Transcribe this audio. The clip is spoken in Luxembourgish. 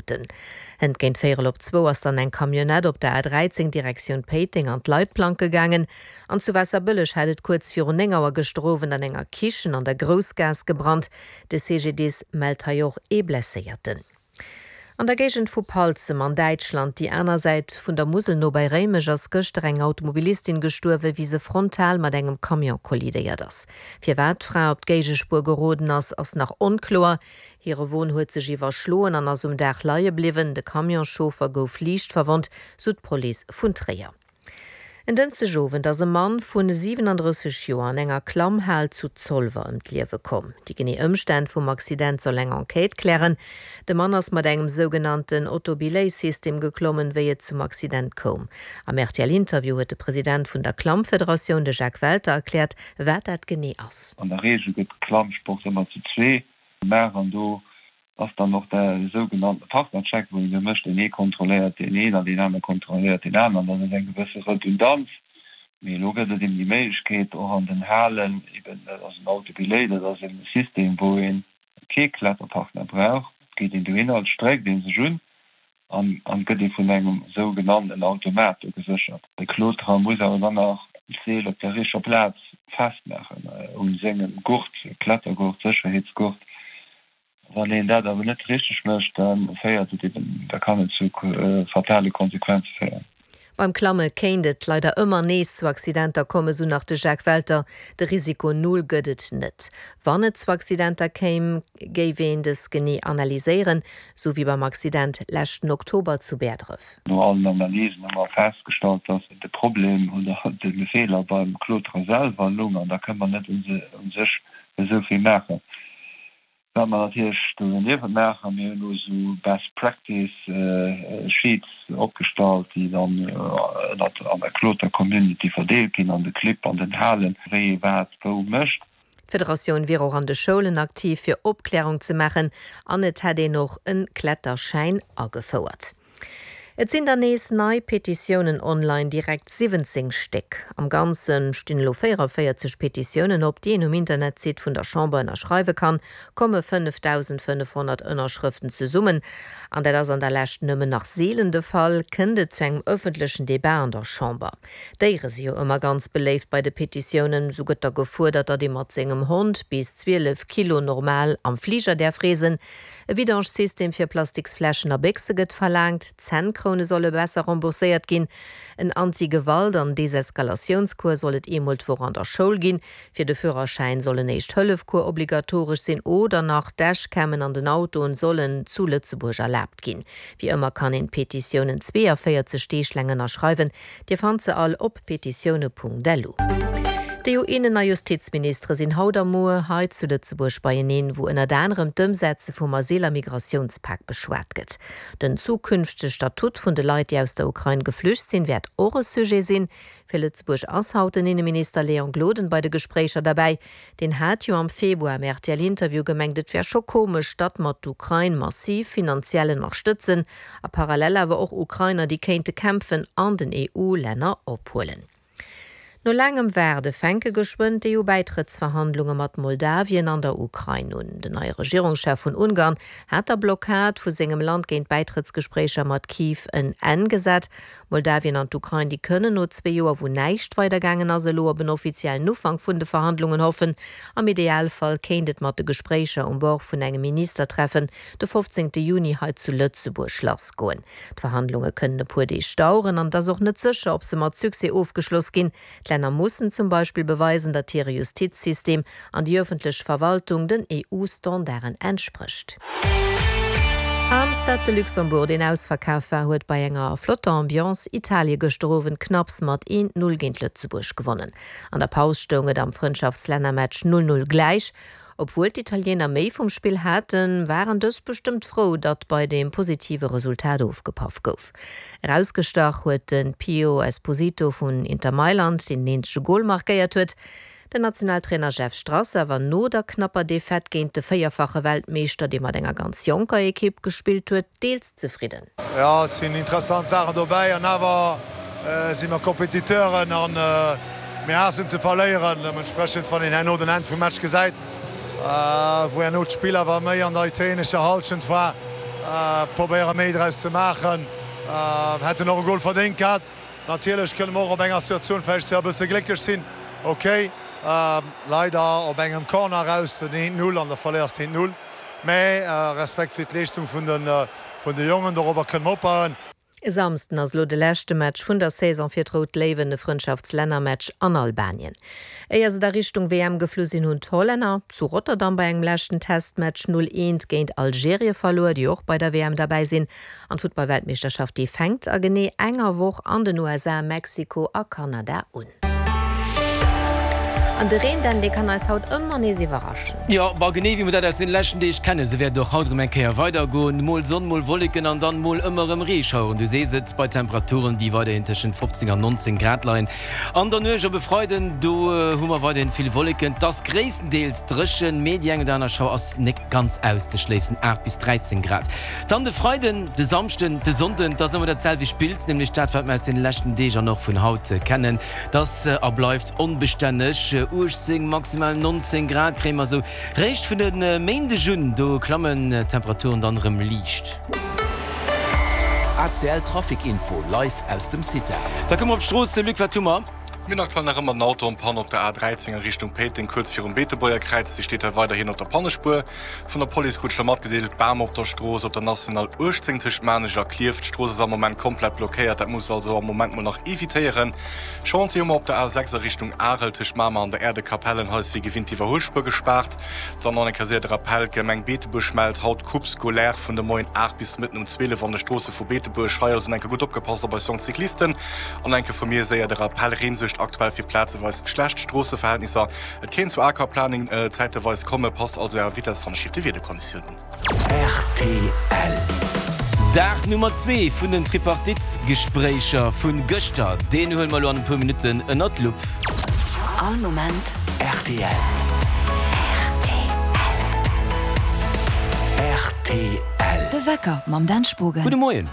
Minutten. Hënt géint véierel op zwou ass dann eng Camionnette op der A13 Direktioun Péiteng an d'Leitplanke gaangen. An zu Waasserbëlleg hat et kuerz virun 9 Auer gëschter Owend an enger Kichen an der Groussgaass gebrannt. De CGDIS mellt hei och ee Blesséierten. An der Géigend vu Palzem an Däitschland, déi aner Säit vun der Musel no bei Réimech, ass gëschter eng Automobilistin gestuerwen, wéi se frontal mat engem Camion kollidéiert ass. Firwat d'Fra op d'Géigespuer geroden ass, ass nach onkloer. Hire Won huet sech iwwerschloen an ass um Daach leie bliwwen. De Camionschauffer gouf liicht verwonnt, sou d'Police vun Tréier. En Dënschdegowend ass e Mann vu 37 Joer an enger Klammhal zu Zolwer ëm d'Liewe komm. Déi genee Ëmstänn vum Accident soll eng Enquête klären. De Mann ass mat engem sougenannten Autobelay-System geklommen, wéi et zum Accident koum. Am RTL-Interview huet de President vun der Klammfederatioun, de Jacques Welter, erkläert, wat dat genee ass. An der Reegel gëtt Klammsport ëmmer zu zwee gemaach an do ass dann och de sougenannte Partnercheck, wou een do mécht, deen ee kontrolléiert deen een an deen anere kontrolléiert deen aneren. Dat ass eng gewësse Redundanz. Mee elo gëtt et eben déi Méiglechkeet och an den Halen, eben dat ass en Autobelay, dat ass e System, wou ee kee Kletterpartner brauch. Et geet een dohinner, et stréckt ee sech un an an gëtt ee vun engem sougenannten Automat do geséchert. De Kloterer muss awer dann nach d'Seel op der richteger Plaz festmaachen u sengem Gurt, Klettergurt, Sécherheetsgurt. Wann een dat awer net richteg mécht, da féiert et eben, da kann et zu fatale Konsequenze féieren. Beim Klamme kéint et leider ëmmer nees zu Accidenter kommen, sou nach de Jacques Welter. De Risiko Null gëtt et net. Wann et zu Accidenter kéim, géif een dës genee analyséieren, sou wéi beim Accident leschten Oktober zu Bäerdref. No allen Analysen hu mer festgestallt, dass de Problem oder de Feeler beim Kloterer selwer lung an da kënne mer net u sech esou vill maachen. Wat mer natierlech do doniewent maachen, mir hunn elo esou Best Practice Sheets opgestallt, déi dann ënnert an der Kloter Community verdeelt ginn, an de Clibb, an den Halen, wéi ee wat wou mécht. D'Federatioun wier och an de Schoulen aktiv, fir Opklärung ze maachen an et hätt een och e Kletterschäin agefouert. Et sinn der nees nei Petitiounen online, direkt 17 Stéck. Am Ganze stinn elo 44 Petitiounen op, déi een um Internetsite vun der Chamber ënnerschreiwe kann. Komme 5.500 Ënnerschrëften zesummen, an dat ass an der Lescht nëmmen nach seelen de Fall, kënnt et zu engem ëffentlechen Debat an der Chamber. Déiere si jo ëmmer ganz beléift bei de Petitiounen. Sou gëtt da gefuerdert, datt ee mat sengem Hond bis 12 Kilo normal am Fliger däerf reesen. E Vidange-System fir Plastiksfläschen a Béchse gëtt verlaangt, Zännkroune solle besser rembourséiert ginn, en Anti-Gewalt an Deseskalatiounskours soll et eemol d'Woch an der Schoul ginn, fir de Führerschäin soll en Éischt-Hëllef-Cours obligatoresch sinn oder nach Dashcammen an den Autoen sollen zu Lëtzebuerg erlaabt ginn. Wéi ëmmer kann een d'Petitiounen 42 Deeg laang ënnerschreiwen. Dir fannt se all op petitioune.lu. D'EU-Innen a Justizministere sinn haut a muer hei zu Lëtzebuerg beieneen, wou ënnert anerem d'Ëmsetze vum Asyl a Migratiounspak beschwat gëtt. Den zukünftege Statut vun de Leit, déi aus der Ukrain geflücht sinn, wäert och e Sujet sinn. Fir Lëtzebuerg ass haut den Inneminister Léon Gloden bei de Gespréicher derbäi. Deen hat jo am Februar am RTL-Interview gemengt, et wär scho komesch, datt mer d'Ukrain massiv finanziell ënnerstëtzen a parallel awer och Ukrainer, déi kéinte kämpfen, an den EU-Länner ophuelen. No laangem Waarde fänke geschwënn d'EU-Bäitrëttsverhandlunge mat Moldawien an der Ukrain un. Den neie Regierungschef vun Ungarn hat der Blockad vu sengem Land géint d'Bäitrëttsgespréicher mat Kiew en Enn gesat. Moldawien an d'Ukrain, déi kënnen no zwee Joer, wou näischt weidergaangen ass, elo op en offiziellen Ufank vun de Verhandlungen hoffen. Am Idealfall kéint et mat de Gespréicher um Bord vun engem Ministertreffen de 15 Juni hei zu Lëtzebuerg lassgoen. D'Verhandlunge kënnen e puer Deeg daueren an et ass och net sécher, ob se mat Succès ofgeschloss ginn. D'Länner mussen zum Beispill beweisen, datt hire Justizsystem an déi ëffentlech Verwaltung den EU-Standarden entsprécht. Am Stade de Luxembourg, deen ausverkaf war, huet bei enger flotter Ambiance Italie gëschter Owend knapps mat 1, 0 géint Lëtzebuerg gewonnen. An der Paus stoung et am Frëndschaftslännermatch 0, 0 gläich. Obwuel d'Italiener méi vum Spill haten, waren dës bestëmmt frou, datt bei deem positive Resultat ofgepaff gouf. Erausgestach huet de Pio Esposito vun Inter Mailand, deen den eenzege Gol markéiert huet. Den Nationaltrainer Jeff Strasser war no der knapper Defaite géint de véierfache Weltmeeschter, dee mat enger ganz jonker Ekipp gespillt huet, deels zefridden. Jo, et sinn interessant Saachen dobäi an awer si mer Competiteuren a mir haassen ze verléieren. Deementsprechend, wann een herno den Enn vum Match gesäit, wou herno d'Spill awer méi an der italienescher Hallschent war. Probéiere méi draus ze maachen. Hätten och e Gol verdéngt gehat. Natierlech kënne mer och op enger Situatioun vläicht e bësse glécklech sinn. Ok, leider op engem Corner eraus den 1, 0 an da verléiers de 1, 0. Mä Respekt fir d'Leeschtung vun de Jongen, dorobber kënne mer opbauen. E Samsden ass elo de leschte Match vun der Saison fir d'Rout Léiwen, e Frëndschaftslännermatch an Albanien. Éier se da Richtung WM geflu sinn, hunn d'Hollänner zu Rotterdam bei engem leschten Testmatch 0, 1 géint Algerie verluer, déi och bei der WM derbäi sinn. An d'Futtballweltmeeschterschaft, déi fänkt a genee enger Woch an den USA, Mexiko a Kanada un. An de Reen, Dan, dee kann eis haut ëmmer nees iwwerraschen. Jo, ma genee wéi mer dat aus den leschten Deeg kennen, esou wäert et och haut erëm eng Kéier weidergoen. Mol Sonn, mol Wolleken an dann mol ëmmer erëm Reeschaueren. Du sees et, bei Temperaturen, déi weiderhin tëschent 15 an 19 Grad leien. An der Nuecht op e Freiden, do hu mer weiderhin vill Wolleken. Et ass gréisstendeels dréchen, mee déi eng oder aner Schauer ass nek ganz auszeschléissen, 8 bis 13 Grad. Dann de Freiden, de Samschden, de Sonnden, et ass ëmmer dat selwecht Bild, nämlech dat, wat mer aus deene leschten Deeg an och vun haut kennen. Et ass a bleift onbestänneg, 18, maximal 19 Grad kréie mer esou réischt vun e Méindeg un. Do klammen d'Temperaturen dann erëm liicht. ACL Trafic Info live aus dem CITA. Da komme mer op d'Strooss. Luc, wat hu mer? Mir hunn aktuell nach ëmmer den Auto en panne op der A13 a Richtung Péiteng, kuerz virum Beetebuerger Kräiz. Dee steet hei weiderhin op der Pannespuer. Vun der Police krut ech da matgedeelt, Bam op der Strooss op der National 18 tëscht Maarnech a Klierf. D'Strooss ass am Moment komplett blockéiert, dat musst der also am Moment mol nach evitéieren. Chantier hu mer op der A6 a Richtung Arel tëscht Mamer an der Äerdekapellen. Hei ass wéi gewinnt d'Iwwerhuelspuer gespaart. Dann nach eng Kéier séier de Rappel, D'Gemeng Beetebuerg mellt haut Coupe scolaire vun de Moien 8 bis de Mëtten um 12 an de Stroosse vu Beetebuerg. Hei also eng Kéier gutt opgepasst op eis jonk Cyclisten. An enke vu mir séier de Rappell, Reen suergt aktuell fir plazeweis schlecht Stroosseverhältnisser. Et kéint zu Aquaplaning zäiteweis kommen, passt also Ärer Vitess wann ech de Wiederkonditiounen un. Rtl. Dag Nummer 2 vun den Tripartite-Gespréicher vu gëschter, deen huele mer elo an e puer Minutten ënnert d'Lupp. All Moment rtl. Rtl. De Wecker mam Dan Spogen. Gudde Moien.